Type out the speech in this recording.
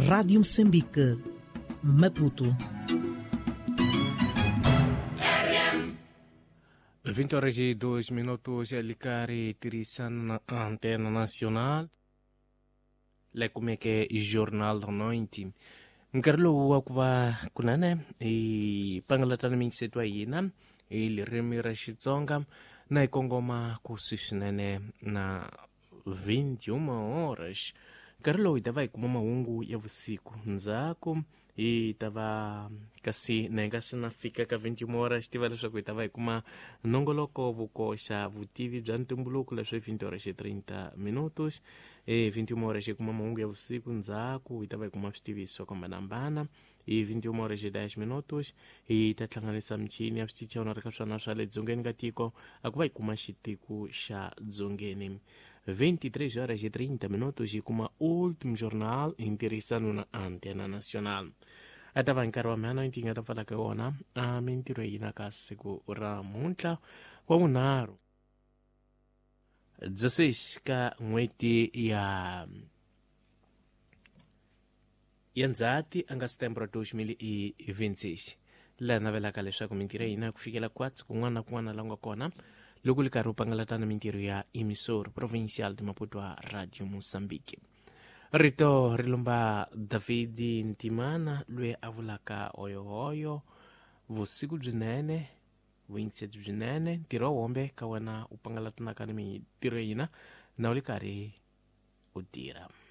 Rádio Moçambique, Maputo. 20 horas e 2 minutos, Alicari Tirisana na Antena Nacional. Le kumeke Jornal da Noite. Nkarhi lowu wa ku va kunene hi pangalatana minyiseto ya hina hi ririmi ra Xitsonga na hi kongoma kusuhi swinene na 21 horas. Nkarhi lowu hi ta va hi kuma mahungu ya vusiku ndzhaku hi ta va kasi na hi nga se na fika ka 21 horas tiva leswaku hi ta va hi kuma nongoloko vukoxa vutivi bya ntumbuluko leswi 20 horas 30 minutos. 21 horas hi kuma mahungu ya vusiku ndzhaku hi ta va hi kuma switiviso swo hambanahambana. Hi 21 horas 10 minutos hi ta hlanganisa michini ya switichi na ri ka swona swa le dzongeni ka tiko a ku va hi kuma xitiko xa dzongeni. 23 horas e 30 minutos hi kuma último jornal hi ntirhisano na Antena Nacional. A ta va nkarhi wa mhana yi nga ta pfala ka wona a mintirho ya hina ka siku ra muntlha wa vunharhu 16 ka n'hweti ya Ndzhati a nga setembro 2026. Laha navelaka leswaku mintirho ya hina ku fikela kwatsi kun'wana na kun'wana la nga kona loko li karhi u pangalatana mintirho ya Emissor Provincial de Maputo Radio Mozambique. Rito ri lomba David Ntimana loyi a vulaka hoyohoyo vusiku byinene vuyingiseti byinene ntirho wa hombe ka wena u pangalatanaka ni mintirho ya hina na u li karhi u tirha.